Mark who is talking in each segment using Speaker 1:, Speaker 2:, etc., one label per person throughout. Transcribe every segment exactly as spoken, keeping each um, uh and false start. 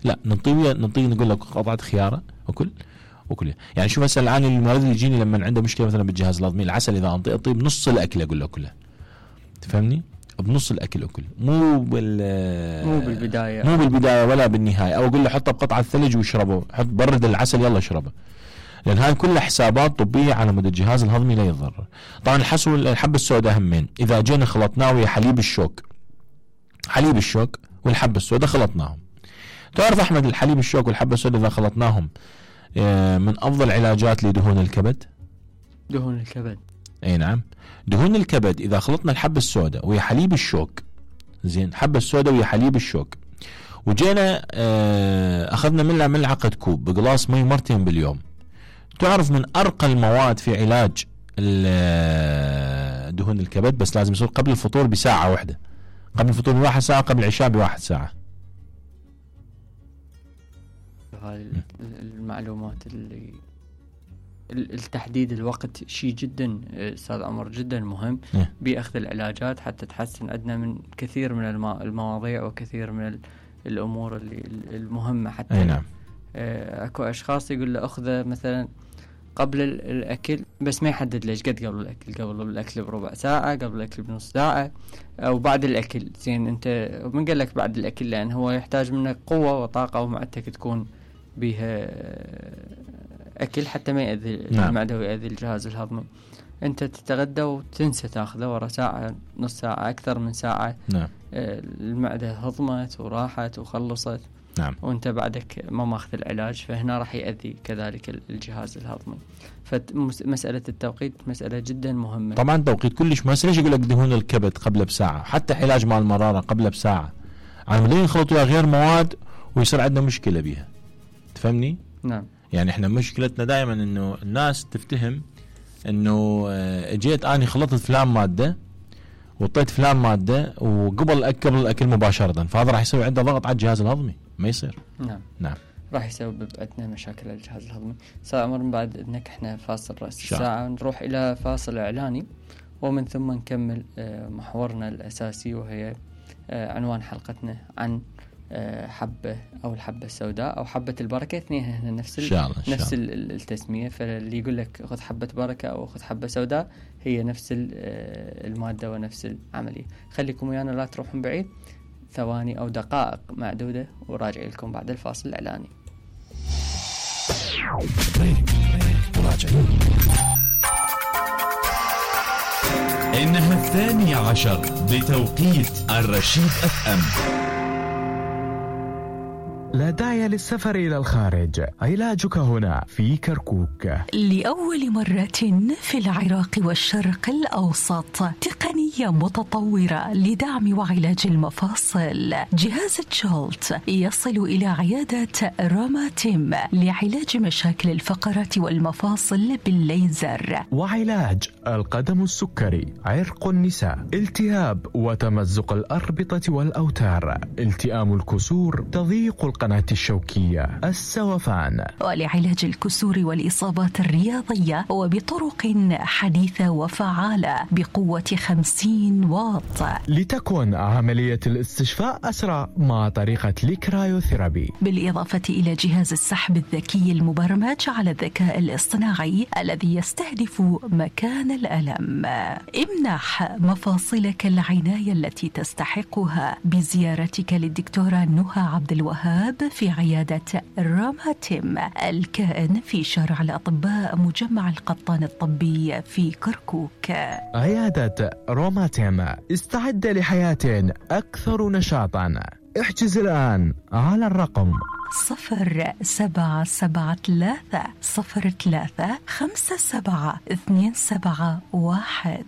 Speaker 1: لا ننطيه ننطيه نقول لك قطعة خيارة وكل وكل. يعني شوف هسه الآن المريض اللي يجيني لما عنده مشكلة مثلا بالجهاز الهضمي، العسل إذا أنطيه أعطيه بنص الأكل أقول له كله، تفهمني؟ بنص الأكل أكل، مو بال
Speaker 2: مو بالبداية
Speaker 1: مو بالبداية ولا بالنهاية، أو أقول له حطه بقطعة ثلج واشربه، حط برد العسل يلا اشربه، لأن هاي كلها حسابات طبية على مدى الجهاز الهضمي لا يتضرر. طبعا الحسو الحبة السوداء همين، إذا جينا خلطناه ويا حليب الشوك، حليب الشوك والحبة السوداء خلطناهم، تعرف أحمد الحليب الشوك والحبة السوداء إذا خلطناهم من أفضل علاجات لدهون الكبد.
Speaker 2: دهون الكبد
Speaker 1: أي نعم، دهون الكبد إذا خلطنا الحبة السوداء ويا حليب الشوك، زين، حبة السوداء ويا حليب الشوك، وجينا أخذنا منها ملعقة كوب بقلاص مي مرتين باليوم، تعرف من أرقى المواد في علاج دهون الكبد، بس لازم يصير قبل الفطور بساعة واحدة، قبل الفطور بواحد ساعة، قبل العشاء بواحد ساعة.
Speaker 2: هاي المعلومات اللي التحديد الوقت شيء جدا استاذ عمر جدا مهم باخذ العلاجات حتى تحسن عندنا من كثير من المواضيع وكثير من الامور اللي المهمه حتى.
Speaker 1: أي نعم.
Speaker 2: اكو اشخاص يقول له اخذه مثلا قبل الاكل، بس ما يحدد ليش قد قبل الاكل، قبل الاكل بربع ساعه، قبل الاكل بنص ساعه، او بعد الاكل. زين انت من قال لك بعد الاكل؟ لان هو يحتاج منك قوه وطاقه ومعدتك تكون بها اكل حتى ما يأذي نعم. المعده ويأذي الجهاز الهضمي. انت تتغدى وتنسى تاخذه ورا ساعه نص ساعه اكثر من ساعه نعم. المعده هضمت وراحت وخلصت نعم. وانت بعدك ما ماخذ العلاج، فهنا راح يأذي كذلك الجهاز الهضمي. فمساله التوقيت مساله جدا مهمه.
Speaker 1: طبعا توقيت كلش مهم. ليش يقول لك دهون الكبد قبل بساعه، حتى علاج مال المراره قبل بساعه، على مدين يخلطوا غير مواد ويصير عندنا مشكله بيها، تفهمني؟
Speaker 2: نعم.
Speaker 1: يعني احنا مشكلتنا دائما انه الناس تفتهم انه اجيت اني خلطت فلان ماده وطيت فلان ماده وقبل قبل الاكل مباشره، فهذا راح يسوي عنده ضغط على الجهاز الهضمي، ما يصير.
Speaker 2: نعم
Speaker 1: نعم
Speaker 2: راح يسبب عندنا مشاكل الجهاز الهضمي. ساعة عمر من بعد انك احنا فاصل راس الساعه نروح الى فاصل اعلاني، ومن ثم نكمل محورنا الاساسي وهي عنوان حلقتنا عن حبة أو الحبة السوداء أو حبة البركة، اثنين هنا نفس
Speaker 1: شاء
Speaker 2: نفس التسمية. فاللي يقول لك خذ حبة بركة أو خذ حبة سوداء هي نفس المادة ونفس العملية. خليكم ويانا لا تروحون بعيد، ثواني أو دقائق معدودة وراجع لكم بعد الفاصل الإعلاني.
Speaker 3: إنها الثانية عشر بتوقيت الرشيد أف أم.
Speaker 4: لا داعي للسفر إلى الخارج، علاجك هنا في كركوك.
Speaker 5: لأول مرة في العراق والشرق الأوسط تقنية متطورة لدعم وعلاج المفاصل. جهاز جولت يصل إلى عيادة روماتيم لعلاج مشاكل الفقرات والمفاصل بالليزر،
Speaker 4: وعلاج القدم السكري، عرق النساء، التهاب وتمزق الأربطة والأوتار، التئام الكسور، تضييق القناة الشوكية، السوفان،
Speaker 5: ولعلاج الكسور والإصابات الرياضية وبطرق حديثة وفعالة بقوة خمسين واط،
Speaker 4: لتكون عملية الاستشفاء أسرع مع طريقة الكرايوثيرابي،
Speaker 5: بالإضافة إلى جهاز السحب الذكي المبرمج على الذكاء الاصطناعي الذي يستهدف مكان الألم. امنح مفاصلك العناية التي تستحقها بزيارتك للدكتورة نهى عبد الوهاب في عيادة روماتيم الكائن في شارع الأطباء مجمع القطان الطبي في كركوك.
Speaker 4: عيادة روماتيم، استعد لحياة أكثر نشاطا. احجز الآن على الرقم
Speaker 5: صفر سبعة سبعة ثلاثة صفر ثلاثة خمسة سبعة اثنين سبعة واحد.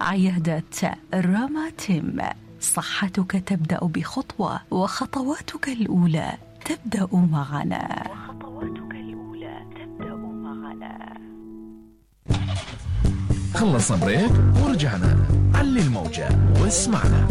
Speaker 5: عيادة روماتيم، صحتك تبدأ بخطوة وخطواتك الأولى تبدأ معنا. وخطواتك الأولى تبدأ معنا.
Speaker 3: خلصنا بريك ورجعنا. علي الموجة واسمعنا.